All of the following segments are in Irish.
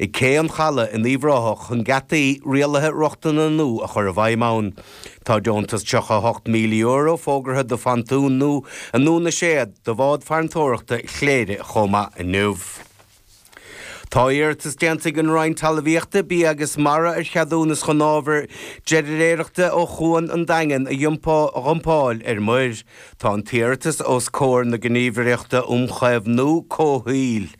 Ag Cé an Chalaidh in Uíbh Ráthach chun geataí rialaithe rochtana nua a chur i bhfeidhm ann. Tá deontas €38,000 fógartha do phontún nua i nDún na Séad do bhád farantóireachta Chléire chomh maith inniu. Tá iarratas déanta ag an Roinn Talmhaíochta, Bia agus Mara ar cheadúnas chun ábhar deiréireachta ó Chuan an Daingin a dhumpáil ar muir. Tá an t-iarratas os comhair na Gníomhaireachta um Chaomhnú Comhshaoil.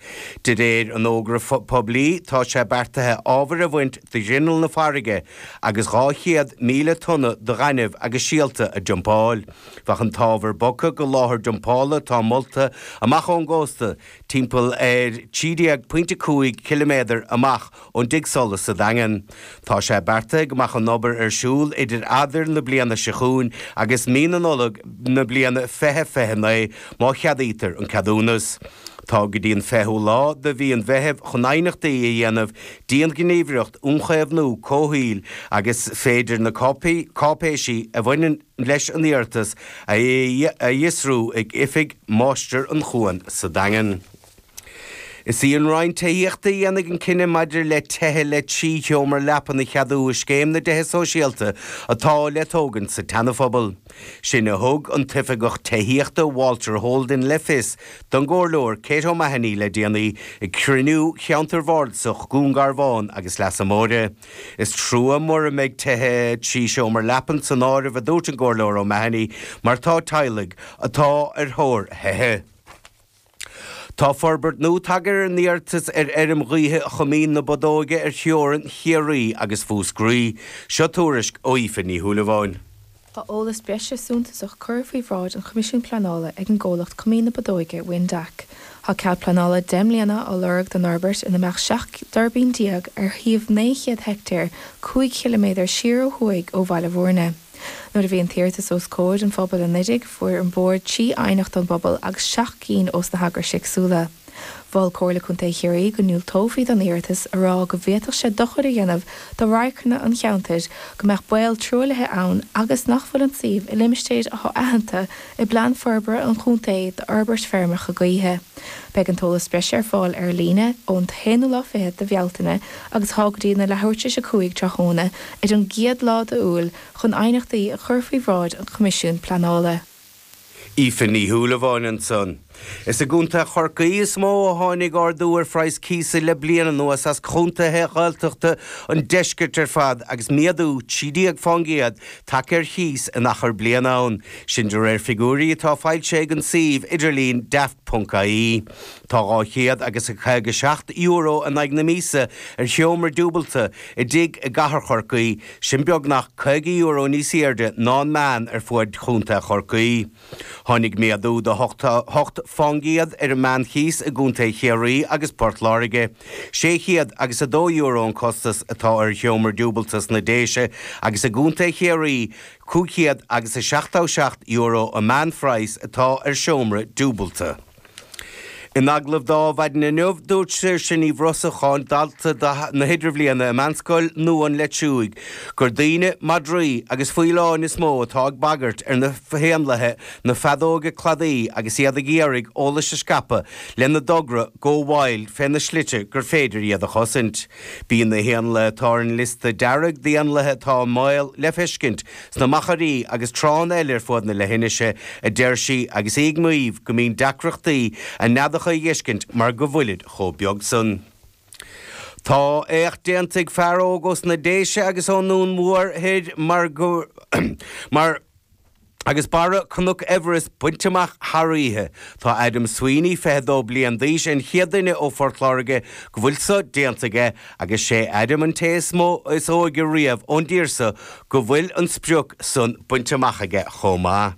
De réir an fhógra poiblí, tá sé beartaithe ábhair a bhaint de ghrinneall na farraige agus 200,000 tonna de ghaineamh agus siolta a dumpáil. Bheadh an t-ábhar bogtha go láthair dumpála atá molta amach ón gcósta, timpeall ar 13.5 ciliméadar amach ón dtigh solais sa Daingean. Tá sé beartaithe go mbeadh an obair ar siúl idir Eanáir na bliana seo chugainn agus mí na Nollag na bliana 2029 má cheadaítear an ceadúnas. Tá go dtí an 20ú lá de mhí an Mheithimh chun aighneachtaí a dhéanamh dtí an Ghníomhaireacht um Chaomhnú Comhshaoil agus féidir na cáipéisí a bhaineann leis an iarratas a fhiosrú ag oifig Mháistir an Chuain sa Daingean. Is í an Roinn Tithíochta a dhéanfaidh an cinneadh maidir le tithe le 3 sheomra leapan a cheadú i Scéim na dTithe Sóisialta atá le tógaint sa tSeanaphobal. Sin a thug an tOifigeach Tithíochta Walter Holden le fios don gComhairleoir Kate O'Mahony le déanaí ag cruinniú Cheantar Bhardasach Dhún Garbhán agus Leasa Móire. Is trua mura mbeidh tithe 3 seomra leapan san áireamh a dúirt an gComhairleoir O'Mahony mar tá teaghlaigh atá ar thóir thithe. Tá forbairt nua tagtha ar an iarratas ar fheirm ghaoithe Choimín na Bodóige ar theorainn Chiarraí agus Mhúscraí. Seo tuairisc ó Aoife Ní Shúilleabháin. Tá eolas breise suntasach curtha faoi bhráid an Choimisiúin Pleanála ag an gcomhlacht Coimín na Bodóige Windac. Tá cead pleanála 10 mbliana á lorg don fhorbairt ina mbeadh 17 dtuirbín ar shuíomh 900 heictéar, 5 chiliméadar siar ó thuaidh ó Bhaile Bhúirne. Nuair a bhí an t-iarratas os comhair an phobail anuraidh, fuair an Bord 3 aighneacht ón bpobal agus 7 gcinn ós na heagrais éagsúla. Mhol Comhairle Contae Chiarraí go ndiúltófaí don iarratas, a rá go bhféadfadh sé dochar a dhéanamh do radharcanna an cheantair, go mbeadh baol truaillithe ann agus nach bhfuil an suíomh i limistéir atá aitheanta i bPlean Forbartha an Chontae d'fhorbairt feirmeacha gaoithe. Beidh an t-eolas breise ar fáil ar líne ón t-aonú lá fichead de Bhealtaine agus tá go dtí na leathuair tar éis a 5 tráthnóna ar an gcéad lá d'Iúil chun aighneachtaí a chur faoi bhráid an Choimisiúin Pleanála. Aoife Ní Shúilleabháin ansan. Is i gContae Chorcaí is mó a tháinig ardú ar phraghas cíosa le bliain anuas as contaetha Ghaeltachta an deiscirt ar fad agus méadú 13 fán gcéad tagtha ar chíos in achar bliana ann, sin de réir figiúirí atá foilsithe ag an suíomh idirlín daft.ie. Tá 200 agus €57 in aghaidh na míosa ar sheomra dúbailte i dtigh i gcathair Chorcaí, sin beagnach €50 níos airde ná an meán ar fuaid chontae Chorcaí. Tháinig méadú de 8 fán gcéad ar an meánchíos i gcontae Chiarraí agus Port Láirge. €600 agus €2 an costas atá ar sheomra dúbailte sna Déise agus i gcontae Chiarraí €500 agus €77 an meánphraghas atá ar seomra dúbailte. In agallamh do Adhmhaidin inniu, dúirt Saoirse Ní Bhrosacháin, dalta na hIdirbhliana i Meánscoil Nua an Leitriúigh, gur daoine, madraí agus faoileáin is mó atá ag bagairt ar na héanlaithe na feadóige cladaí agus iad ag iarraidh eolais a scaipeadh lena dtogra Go Wild fé na slite gur féidir iad a chosaint. Bíonn na héanlaithe atá ar an liosta dearg d'éanlaithe atá i mbaol le feiscint sna machairí agus tránna eile ar fuaid na leithinise, a deir sí, agus í ag maíomh go mbíonn deacrachtaí a neadacha a dh'fheiscint mar go bhfuilid chomh beag san. Tá éacht déanta ag fear óg ós na Déise agus ón nDún Mór Thoir mar go mar agus barra Cnoc Everest bainte amach thar oíche. Tá Adam Sweeney, 22 bliain d'aois, an chéad duine ó Phort Láirge go bhfuil so déanta aige agus sé Adam an té is mó is óige riamh ón dtír so go bhfuil an sprioc san bainte amach aige chomh maith.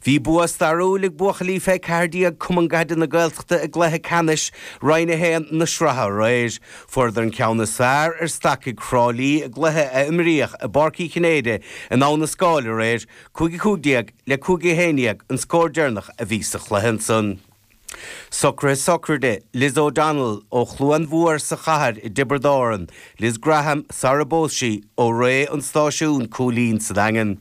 Bhí bua stairiúil ag buachaillí fé 14 Cumann Caide na Gaeltachta i gcluiche ceannais Roinn 1 na sraithe aréir. Fuaireadar an ceann is fearr ar Stacaigh Thrá Lí i gcluiche a imríodh i bPáirc Uí Chinnéide in Abha na Scáil aréir, 5-15 le 5-11 an scór deireanach a bhí sa chluiche ansan. Socruithe sochraide Liz O'Donnell ó Chluain Mhór sa Chathair i dTiobraid Árann, Liz Graham sara bpós sí, ó Rae an Stáisiúin, Cúilín sa Daingean.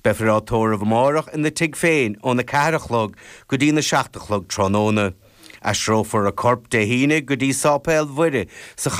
Beifear á tórramh amárach ina tigh féin óna 4 a chlog go dtí na 7 a chlog tráthnóna. Aistreofar a corp Dé hAoine go dtí Sáipéal Mhuire sa chathair.